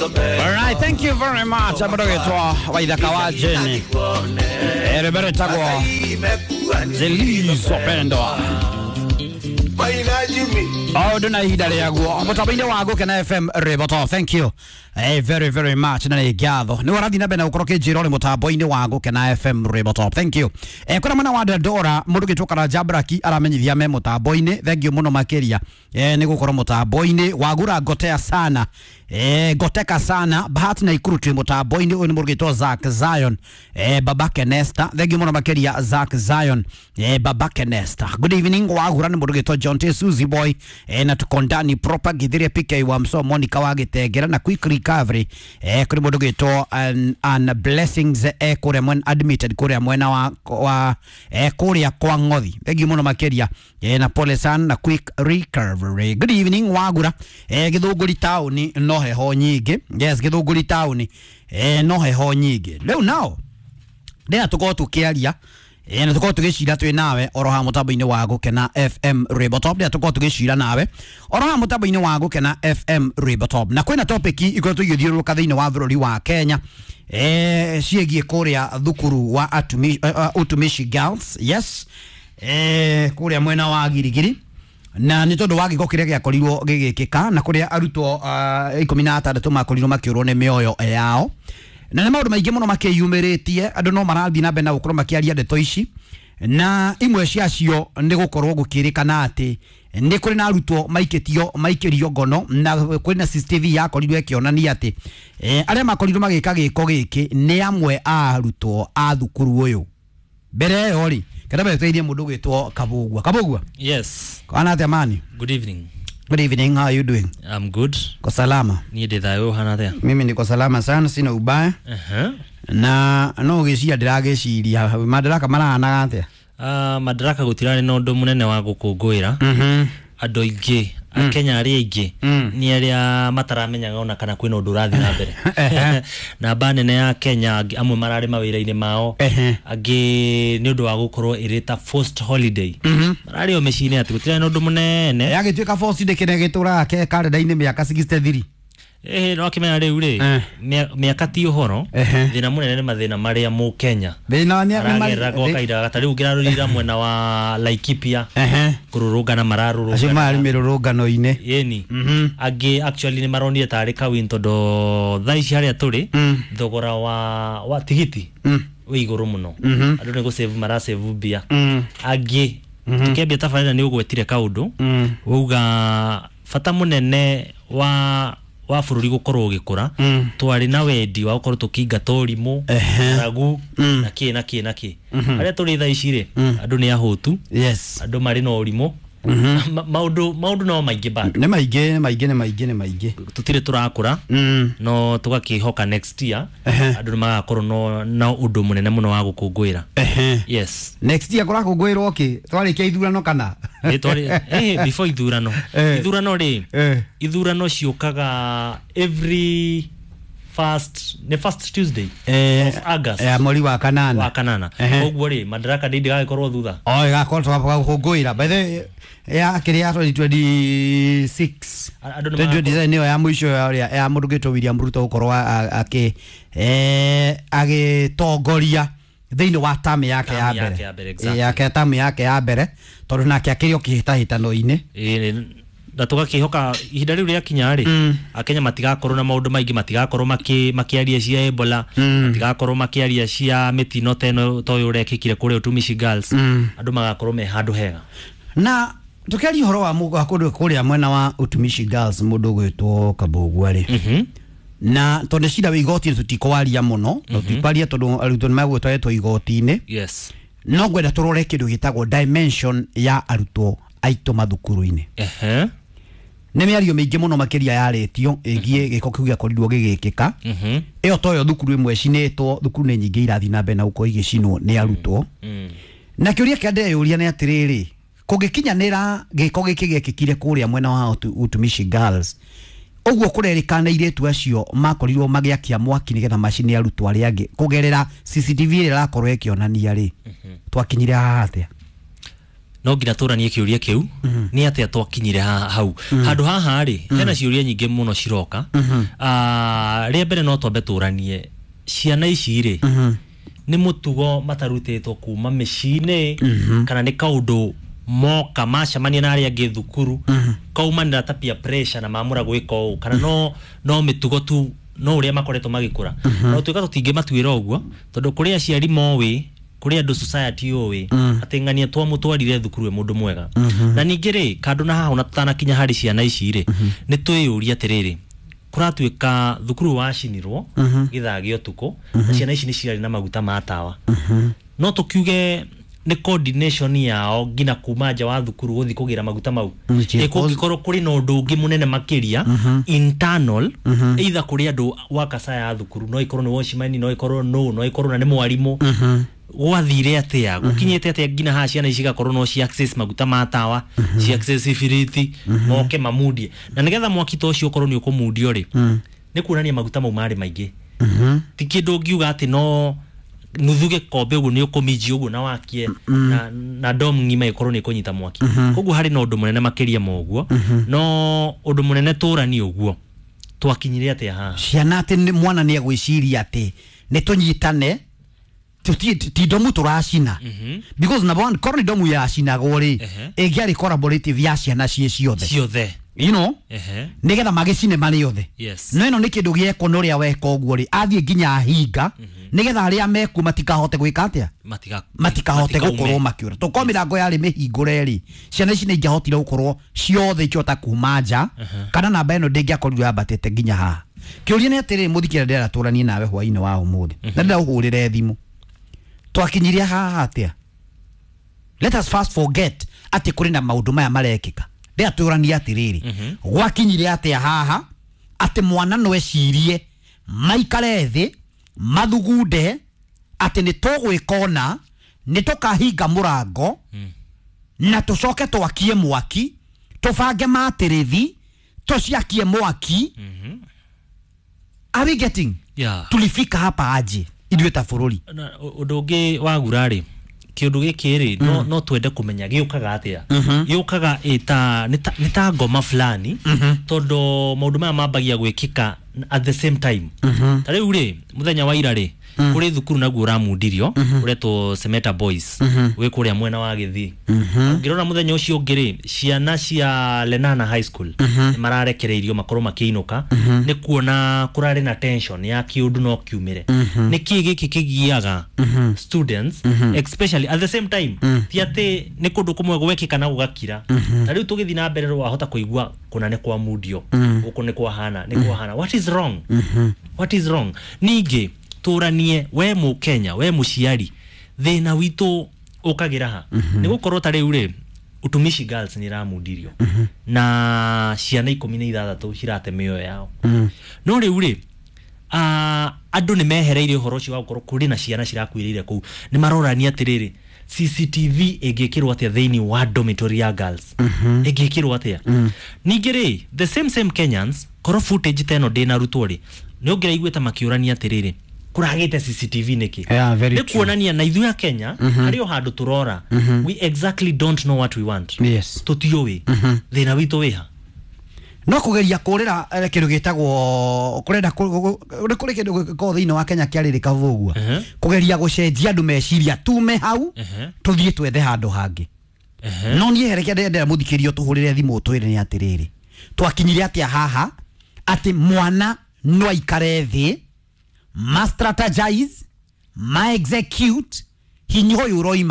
Alright, thank you very much. Amũndũ Waithaka wa Jane. Rwĩmbo rwĩtagwo Zilizopendwa. O ũndũ na ihinda rĩaguo mũtambo-inĩ wa Gũkena FM Rwĩmbo Top. Thank you very very much na nĩ ngatho nĩ ũrathiĩ na mbere na gũkorwo kĩnjĩra ũrĩ mũtambo-inĩ wa Gũkena FM Rwĩmbo Top. Thank you. Kwĩna mwena wa Dandora mũndũ ũgĩtwo Karanja Braki aramenyithia me mũtambo-inĩ. Thank you mũno makĩria nĩ gũkorwo mũtambo-inĩ wagura ngotea sana, ngoteka sana. Bahati na Ikuru twĩ mũtambo-inĩ. Ũyũ nĩ mũndũ ũgĩtwo Zack Zion, babake Nesta. Thank you mũno makĩria Zack Zion, babake Nesta. Good evening wagura nĩ mũndũ ũgĩtwo John T Suzy Boy, na tuko ndani proper Githiria PK wa Mso Monica wa Gĩtengera na quick recovery kũrĩ mũndũ ũgĩtwo an Blessings, kũrĩa mwena admitted kũrĩa mwena wa kũrĩa kwa Ng'othi. Thank you mũno makĩria, na pole sana na quick recovery. Good evening wagura, Gĩthũngũri taũni no heho nyingĩ. Yes, Gĩthũngũri taũni no heho nyingĩ rĩu nao ndĩra tũkorwo tũkĩaria na tũkorwo tũgĩcira twĩ nawe oro haha mũtambo-inĩ wa Gũkena FM Rwĩmbo Top. Ndĩra tũkorwo tũgĩcira nawe oro haha mũtambo-inĩ wa Gũkena FM Rwĩmbo Top, na kwĩna topic ikoretwo igĩthiũrũrũka thĩinĩ wa bũrũri wa Kenya ciĩgiĩ kũrĩa thukuru wa Utumishi Girls, yes, kũrĩa mwena wa Girigiri, na nĩ tondũ wa gĩko kĩrĩa gĩakorirwo gĩgĩkĩka na kũrĩa arutwo 16 makorirwo makĩũrwo nĩ mĩoyo yao, na nĩ maũndũ maingĩ mũno makĩyumĩrĩtie. Andũ no marathiĩ na mbere na gũkorwo makĩaria ndeto ici, na imwe ciacio nĩ gũkorwo gũkĩrĩkana atĩ nĩ kũrĩ na arutwo maikĩtio maikĩrio ngono, na kũrĩ na CCTV yakorirwo ĩkĩonania atĩ arĩa makorirwo magĩka gĩko gĩkĩ nĩ amwe a arutwo a thukuru ũyũ. Mbere ĩyo rĩ, kenda mbere tũirie mũndũ ũgwĩtwo Kabugua. Kabugua. Yes. Kana atĩa mani? Good evening. Good evening, how are you doing? I'm good. Ko salama? Niĩ ndĩ thayũ, ũhana atĩa? Mimi niko salama sana, sina ubaya. Na no gĩciria ndĩragĩciria Madaraka marahanaga atĩa? Madaraka gũtirarĩ na ũndũ mũnene wa gũkũngũĩra. Andũ aingĩ akenya arĩa aingĩ nĩ arĩa mataramenyaga ona kana kwĩna ũndũ ũrathiĩ na mbere. Namba nene ya Kenya amwe mararĩ mawĩra-inĩ mao, angĩ nĩ ũndũ wa gũkorwo ĩrĩ ta forced holiday mararĩ o mĩciĩ-inĩ, atĩ gũtirarĩ na ũndũ mũnene. Yagĩtuĩka force ndĩ kĩrĩa gĩtũraga ke karenda-inĩ mĩaka 63. Ĩhĩ, no akĩmenya rĩu rĩ, mĩaka ti ũhoro. Thĩna mũnene nĩ mathĩna marĩa mũkenya thĩna nĩ aragerera gwa kahinda gata. Rĩu ũngĩrarorire mwena wa Laikipia, kũrũrũngana acio mararũrũngana. Marĩ mĩrũrũngano-inĩ. Ĩni angĩ actually nĩ maronire tarĩ kawin tondũ thaa ici harĩa tũrĩ thogora wa tigiti wĩ igũrũ mũno. Andũ nĩ gũsave marasave mbia. Angĩ tũkĩambia tabarĩra nĩ ũgwetire kaũndũ wauga bata mũnene wa bũrũri gũkorwo ũgĩkũra, twarĩ na wendi wa gũkorwo tũkĩingata ũrimũ, ng'aragu, na kĩ na kĩ na kĩ. Harĩa tũrĩ thaa ici rĩ, andũ nĩ ahũtu, andũ marĩ na ũrimũ. Maũndũ no maingĩ bado. Nĩ maingĩ, nĩ maingĩ, nĩ maingĩ, nĩ maingĩ. Tũtirĩ tũrakũra, no tũgakĩhoka next year andũ nĩ magakorwo na ũndũ mũnene mũno wa gũkũngũĩra. Yes. Next year kũrakũngũĩrwo kĩ? Twarĩkia ithurano kana? Before ithurano. Ithurano rĩ, ithurano ciũkaga every first, nĩ first Tuesday of August. Mweri wa kanana. Wa kanana. Koguo rĩ, Madaraka Day ndĩgagĩkorwo thutha. O ĩgakorwo tũgakũngũĩra by the way ya kĩrĩa ya 2026. Andũ nĩ 2027 nĩyo ya mũico ya ũrĩa ya mũndũ ũgĩtwo William Ruto gũkorwo agĩtongoria thĩinĩ wa tamu yake ya Tamu yake mbere. ya mbere, exactly. Yake tamu yake ya mbere, tondũ nake akĩrĩ o kĩhĩtahĩtano-inĩ. Ĩĩ, na tũgakĩhoka ihinda rĩu rĩakinya rĩ, akenya matigakorwo na maũndũ maingĩ, matigakorwo makĩaria cia Ebola, matigakorwo makĩaria cia mĩtino ta ĩno ta ũyũ ũrekĩkire kũrĩa Utumishi Girls. Andũ magakorwo me handũ hega. Na tũkĩaria ũhoro wa wa kũndũ kũrĩa mwena wa Utumishi Girls, mũndũ ũgwĩtwo Kabũgua rĩ, na tondũ cira wĩ igoti-inĩ tũtikwaria mũno na tũtikwaria tondũ arutwo nĩ megũtwaretwo igoti-inĩ, no ngwenda tũrore kĩndũ gĩtagwo dimension ya arutwo aitũ mathukuru-inĩ. Nĩ mĩario mĩingĩ mũno makĩria yarĩtio ĩgiĩ gĩko kĩu gĩakorirwo gĩgĩkĩka. Ĩyo toyo thukuru ĩmwe ĩcinĩtwo, thukuru nĩ nyingĩ irathiĩ na mbere na gũkorwo igĩcinwo nĩ arutwo. Na kĩũria kĩrĩa ndĩreyũria nĩ atĩrĩrĩ, kũngĩkinyanĩra gĩko gĩkĩ gĩekĩkire kũrĩa mwena wa Utumishi Girls ũguo kũrerĩkana airĩtu acio makorirwo magĩakia mwaki nĩgetha macine arutwo arĩa angĩ kũgerera CCTV ĩrĩa ĩrakorwo ĩkĩonania rĩ, twakinyire haha atĩa? No nginya tũranie kĩũria kĩu nĩ atĩa twakinyire hau handũ haha rĩ hena ciũria nyingĩ mũno ciroka. Rĩa mbere no twambe tũranie ciana ici rĩ nĩ mũtugo matarutĩtwo kuma mĩciĩ-inĩ kana nĩ kaũndũ moka macemania na arĩa angĩ thukuru kaumanĩra ta peer pressure na mamũra gwĩka ũũ kana no mĩtugo tu no ũrĩa makoretwo magĩkũra. No tuĩka tũtingĩmatuĩra ũguo tondũ kũrĩ aciari moĩ, kũrĩ andũ society ũĩ atĩ ng'ania twamũtwarire thukuru e mũndũ mwega. Na ningĩ rĩ kando na haha ona tũtanakinya harĩ ciana ici rĩ nĩ twĩyũria atĩrĩrĩ, kũratuĩka thukuru wacinirwo gĩthaa gĩa ũtukũ na ciana ici nĩ cirarĩ na maguta ma tawa. No tũkiuge nĩ coordination yao nginya kuma nja wa thukuru gũthiĩ kũgĩra maguta mau. Ĩ kũngĩkorwo kũrĩ na ũndũ ũngĩ mũnene makĩria internal, either kũrĩ andũ wakasa ya thukuru, no ikorwo nĩ watchman, no ikorwo no ikorwo na nĩ mwarimũ, gwathire atĩa gũkinyĩte atĩa nginya haha ciana ici igakorwo no ci access maguta ma tawa, ci access ibiriti moke mamundie, na nĩgetha mwaki ta ũcio ũkorwo nĩ ũkũmundio rĩ nĩ kuonania maguta mau marĩ maingĩ. Ti kĩndũ ũngiuga atĩ no nuthu gĩkombe ũguo nĩ ũkũminjia ũguo na wakie na dom ng'ima ĩkorwo nĩ ĩkũnyita mwaki. Koguo harĩ na ũndũ mũnene makĩria ma ũguo, no ũndũ mũnene tũrani ũguo twakinyire atĩa haha ciana atĩ mwana nĩ egwĩciria atĩ nĩ tũnyitane ti ndomu tũracina, because number one korwo nĩ ndomu yacinagwo rĩ ĩngĩarĩ collaborative ya ciana ciĩ ciothe, you know, nĩgetha magĩcine marĩ othe. No ĩno nĩ kĩndũ gĩekwo nĩ ũrĩa weka ũguo rĩ athiĩ nginya ahinga nĩgetha arĩa mekuo matikahote gwĩka atĩa, matikahote gũkorwo makĩũra. Tũkorwo mĩrango yarĩ mĩhingũre rĩ ciana ici nĩ ingĩahotire gũkorwo ciothe ikĩhota kuma nja kana namba ĩno ndĩngĩakorirwo yambatĩte nginya haha. Kĩũria nĩ atĩrĩrĩ, mũthikĩrĩria ndĩrenda tũranie nawe hwaĩ-inĩ wa ũmũthĩ na ndĩrenda ũhũrĩre thimũ, twakinyirie haha atĩa? Let us first forget atĩ kũrĩ na maũndũ maya marekĩka. Ndĩratũrania atĩrĩrĩ, gwakinyire atĩa haha atĩ mwana no ecirie maikare thĩ mathugunde atĩ nĩ tũgwĩka ũna, nĩ tũkahinga mũrango na tũcoke twakie mwaki, tũbange matĩrĩthi tũciakie mwaki. Are we getting? Tulifika hapa aje ithuĩ ta bũrũri? Ũndũ ũngĩ wagura rĩ kĩũndũ gĩkĩ rĩ no twende kũmenya gĩũkaga atĩa. Gĩũkaga nĩ ta ngoma fulani tondũ maũndũ maya mambagia gwĩkĩka at the same time. Ta rĩu rĩ mũthenya wa ira rĩ kũrĩ thukuru naguo ũramundirio ũretwo Semeta Boys wĩ kũrĩa mwena wa Gĩthii. Ũngĩrora mũthenya ũcio ũngĩ rĩ ciana cia Lenana High School nĩ mararekereirio makorwo makĩinũka nĩ kuona kũrarĩ na tension ya kĩũndũ no kiumĩre. Nĩ kĩĩ gĩkĩ kĩgiaga students especially at the same time, ti atĩ nĩ kũndũ kũmwe gwekĩka na gũgakira. Ta rĩu tũgĩthiĩ na mbere wahota kũigua kũna nĩ kwa mundio gũkũ nĩ kwahana nĩ kwahana. What is wrong? What is wrong? Ningĩ tũranie we mũkenya we mũciari thĩna witũ ũkagĩra ha nĩ gũkorwo ta rĩu rĩ Utumishi Girls nĩ ĩramundirio na ciana 16 cirate mĩoyo yao. No rĩu rĩ andũ nĩ mehereire ũhoro ũcio wa gũkorwo kũrĩ na ciana cirakuĩrĩire kũu, nĩ marorania atĩrĩrĩ CCTV ĩngĩkĩrwo atĩa thĩinĩ wa dormitory ya girls, ĩngĩkĩrwo atĩa. Ningĩ rĩ the same Kenyans korwo footage ta ĩno ndĩnarutwo rĩ nĩ ũngĩraiguĩte makĩũrania atĩrĩrĩ kũragĩte CCTV nĩkĩ? Nĩ kuonania na ithuĩ a Kenya harĩ o handũ tũrora, we exactly don't know what we want. Tũtiũĩ thĩna witũ wĩha. No kũgeria kũrĩra kĩndũ gĩtagwo kũrenda kũrĩ kĩndũ gĩkoragwo thĩinĩ wa Kenya kĩarĩrĩka ũguo, kũgeria gũcenjia andũ meciria tume hau tũthiĩ twethe handũ hangĩ. No niĩ hereke ndĩrenda mũthikĩrio tũhũrĩre thimũ twĩre nĩ atĩrĩrĩ, twakinyire atĩa haha atĩ mwana no aikare thĩ ma strategize ma execute hinya ũyũ ũroima